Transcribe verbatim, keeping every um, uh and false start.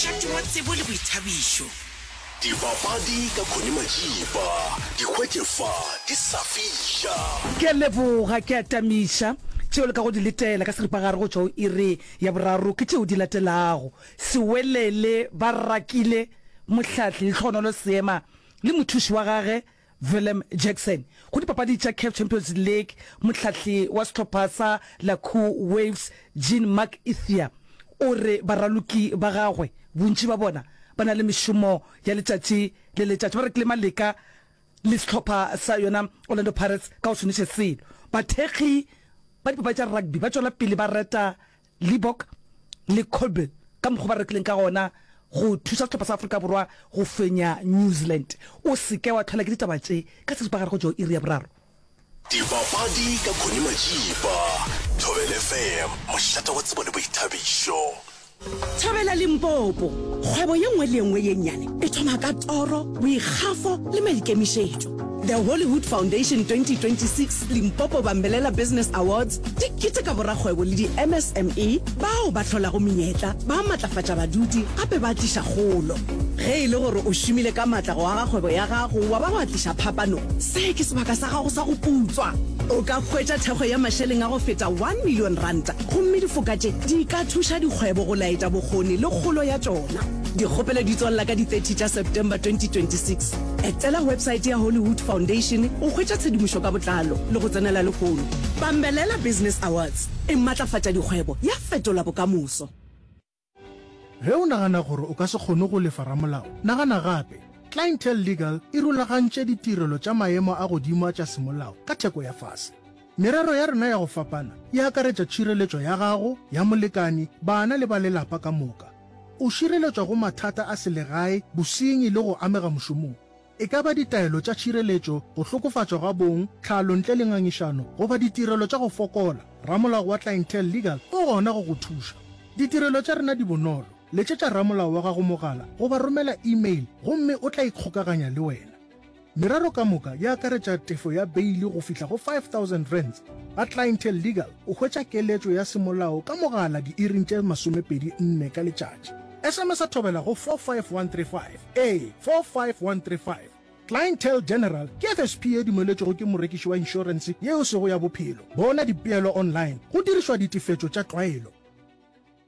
Mošate wa tsebo le boithabišo. Dipapadi ka Connie Majiba, di hwetše fa di sa fiša. Ke a leboga, ke a tamiša. Tšeo le kago di letela ka seripagare go tšwa go iri ya boraro ke tšeo di latelago, Sewelele ba rakile mohlahli Lehlohonolo Seema le mothuši wa gage Willem Jackson go dipapadi tša CAF Champions League, mohlahli wa sehlopha sa Lakou Waves Jean Marc Ithier o re baraloki ba gagwe bontši ba bona ba na le mešomo ya letšatši le letšatši ba rekile maleka le sehlopha sa yona Orlando Pirates ka go se noše selo. Bathekgi ba dipapadi tša rugby ba tšwela pele ba reta Libbok le Kolbe ka mokgwa ba rekileng ka gona go thuša sehlopha sa Afrika Borwa go fenya New Zealand. O se ke wa tlhola ke ditaba tše ka seripagare go tšwa go iri ya boraro. Dipapadi ka Connie Majiba, Thobela F M, mošate wa tsebo le boithabišo. Thobela Limpopo, kgwebo ye nngwe le ye nngwe ye nnyane e thoma ka toro, boikgafo le maikemišetšo. The Hollywood Foundation twenty twenty six Limpopo Bambelela Business Awards di keteka borakgwebo le di-M S M E bao ba hlolago menyetla, ba matlafatša badudi gape ba tliša kgolo. Ge e le gore o šomile ka matla go aga kgwebo ya gago wa ba wa tliša phapano, se ke sebaka sa gago sa go putswa. O ka hwetša thekgo ya mašeleng a go feta one million ranta gomme difoka tše di ka thuša dikgwebo go laetša bokgoni le kgolo ya tšona. Dikgopelo di tswalela ka di thirty tša September twenty twenty-six. Etela website ya Hollywood Foundation go hwetša tshedimošo ka botlalo le go tsenela lehono. Bambelela Business Awards e matlafatša dikgwebo ya fetola bokamoso. Ge o nagana gore o ka se kgone go lefa ramolao, nagana gape. Clientele Legal e rulagantše ditirelo tša maemo a godimo tša semolao ka theko ya fase. Merero ya rena ya go fapana e akaretša tšhireletšo ya gago, ya molekani, bana le ba lelapa ka moka. O šireletšwa go mathata a selegae, bosenyi le go amega mošomong. E ka ba ditaelo tša tšhireletšo, go hlokofatšwa ga bong, tlhalo ntle le ngangišano goba ditirelo tša go fokola, ramolao wa Clientele Legal o gona go go thuša. Ditirelo tša rena di bonolo. Letšetša ramolao wa gago mogala goba romela email gomme o tla ikgokaganya le wena. Merero ka moka e akaretša tefo ya beile go fihla go five thousand rands. Ga Clientele Legal o hwetša keletšo ya semolao ka mogala diiring tše masomepedi nne ka letšatši. S M S a thobela go four five one three five. Ee, four five one three five. Clientele General ke F S P ye dumeletšwego ke morekiši wa inšorense ye e sego ya bophelo. Bona dipeelo online go dirišwa ditefetšo tša tlwaelo.